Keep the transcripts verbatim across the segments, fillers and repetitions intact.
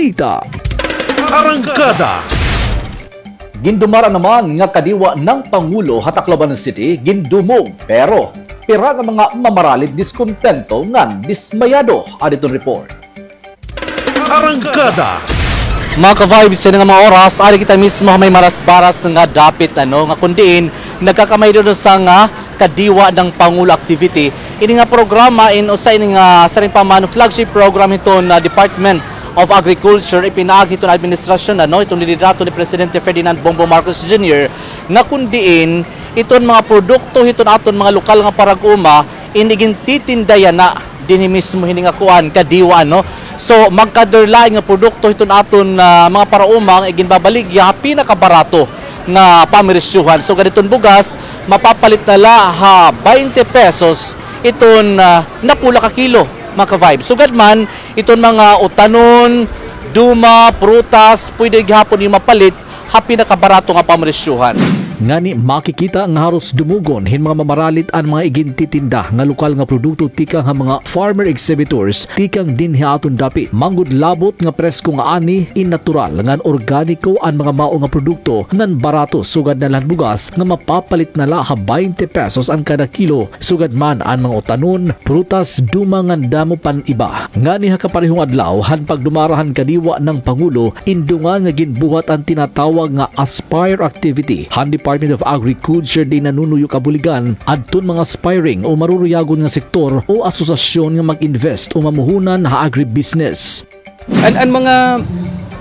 Balita. Arangkada. Gindumara naman nga kadiwa ng Pangulo ha Tacloban City, gindumog, pero pira nga mga mamaralit diskontento ngan dismayado. Adi iton report. Arangkada. Mga ka-vibes, yana nga mga oras, adi kita mismo ha may Marasbaras nga dapit, ano, nga kun diin nagkakamay didto sa nga kadiwa ng Pangulo activity. Ini nga programa in usa ini nga siring pa man flagship program hiton, ah, Department of Agriculture, ipinaagi hiton administrasyon, ano, hiton liderato ni Presidente Ferdinand Bongbong Marcos Junior, nga kun diin iton mga produkto hiton aton mga lokal nga parag-uma, ini igintitinda yana dinhi mismo hini nga kuan, kadiwa, no? So, magkaderlain nga produkto hiton aton, ah, mga parauma nga iginbabaligya ha pinakabarato nga pamirisyohan. Sugad iton bugas, mapapalit na la ha baynte pesos iton, ah, napula ka kilo, mga ka-vibe. Sugad man, iton mga utanon, duma, prutas, pwede gihapon iyo mapalit ha pinakabarato nga pamresyohan. Ngani makikita nga haros dumugon hin mga mamaralit an mga igintitinda nga lokal nga produkto tikang ha mga farmer exhibitors tikang dinhi ha aton dapit. Manggud labot nga presko nga ani, in natural ngan organiko an mga mao nga produkto ngan barato sugad na la han bugas nga mapapalit na la ha baynte pesos an kada kilo. Sugad man an mga utanon, prutas, duma ngan damo pan iba. Ngani ha kaparehong adlaw han pagdumara han kadiwa ng Pangulo, in dungan nga ginbuhat an tinatawag nga Aspire activity han Department of Agriculture diin nanunuyo kabuligan adton mga aspiring o maruruyagon nga sektor o asosasyon nga mag-invest o mamuhunan ha agribusiness. An, an mga,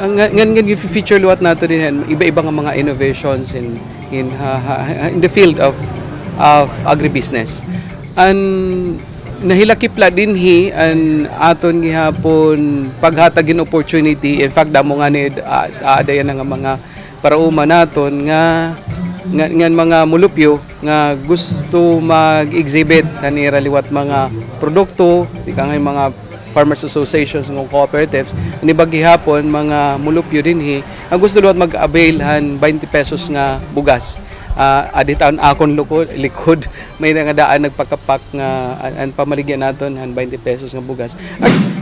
an, ngan, ngan, ngan gi-feature liwat nato dinhi, iba-iba nga mga innovations in, in, ha, ha, ha, in the field of, of agribusiness. An nahilakip la dinhi, an aton gihapon paghatag hin opportunity. In fact, damo ngani, ah, ah, aada yana nga mga parauma naton nga, nga, ngan mga mulupyo nga gusto mag-exhibit han ira liwat mga produkto, tikang ha mga farmers associations ngan cooperatives, an iba gihapon mga mulupyo dinhi nga gusto liwat mag-avail han baynte pesos nga bugas. Ah, adi ta an akon luko-, likod, may na nga daan nagpakapak nga an, an pamaligya naton han baynte pesos nga bugas.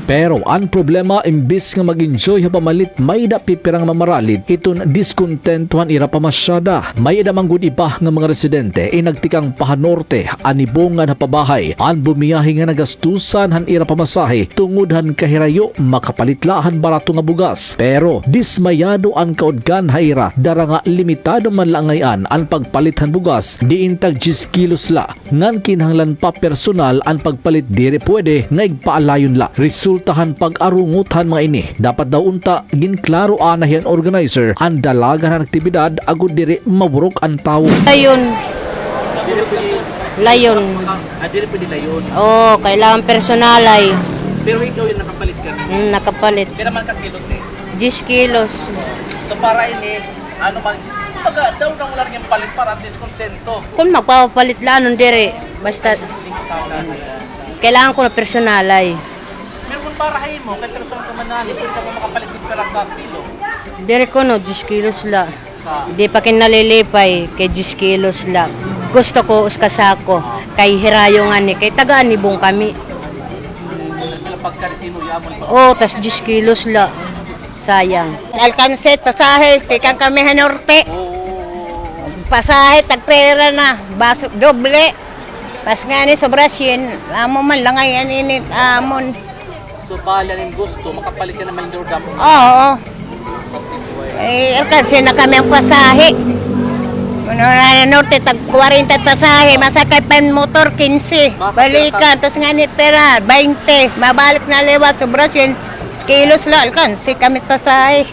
Pero an problema, imbis nga mag-enjoy ha pamalit, may-ada pipira nga mamaralit iton diskontento han ira pamasyada. May-ada man gud iba nga mga residente in nagtikang pa ha norte, an Nibong ngan ha pabahay, an bumiyahe nga nagastusan han ira pamasahe tungod han kahirayo makapalit la han barato nga bugas. Pero dismayado an kaudkan ha ira, dara nga limitado man la ngay-an an pagpalit han bugas, diin tag-diyes kilos la. Ngan kinahanglan pa personal an pagpalit, diri pwede nga igpaalayon la. Resulta han pag-arungot han mga ini, dapat daw unta ginklaro anay han organizer an dalagan han aktibidad agod diri maburok an tawo. Layon. Layon. Ah, diri pwede layon. Oo, kailangan personalay. Pero ikaw yung nakapalit ka na? Mm, nakapalit. Pira man ka kilo, te? Diyes kilos. So, para ini, ano man, kumbaga, daw na wala naging palit para at least kontento. Kung magpapalit la, anong diri? Basta, kailangan ko na personalay. Pero kung para ha imo, kay personal ka man na, pwede ka mo makapalit din para ka kilo. Diri ko, no, diyes kilos la. Di pa kin nalilipay, kay diyes kilos la. Gusto ko, uska sako, kay hirayo ngani, kay taga Nibong kami. Pero pagka di mo, yamon pa. Oo, tas diyes kilos la. Sayang. Alkanse, pasahe, tikang kami ha norte. Pasahe, tagpira na, bas, doble. Pas ngani, sobra syen. Amo man, langay an init, amon. So, bali, an gusto, makapalit ka naman, Lord, amo. Oo. Eh, alkanse na kami an pasahe. Ano na, norte, tag kwarenta pasahe, masakay pa an motor, kinse. Bakit? Balikan, tas ngani, pira, baynte. Mabalik na liwat, sobra syen. Kilos la, alkanse kami pasahe.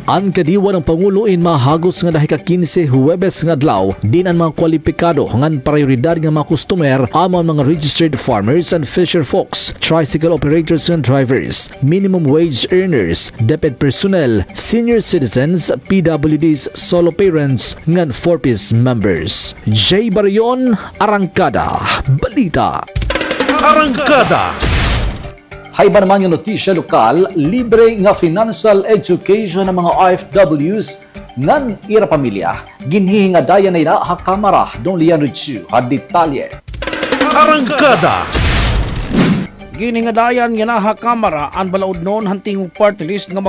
An kadiwa ng Pangulo in mahagos nga dahika kinse, Huwebes nga adlaw, diin an mga kwalipikado ngan prayoridad nga mga customer amo an mga registered farmers and fisher folks, tricycle operators ngan drivers, minimum wage earners, DepEd personnel, senior citizens, P W Ds, solo parents, ngan four Ps members. Jay Barion, Arangkada Balita. Arangkada. Ha iba naman nga notisya lokal, libre nga financial education han mga O F Ws ngan ira pamilya, ginhihingadayan na yana ha Kamara. Don Leandro Chu ha detalye. Arangkada. Ginhingadayan yana ha Kamara an balaod-non han tingog party list nga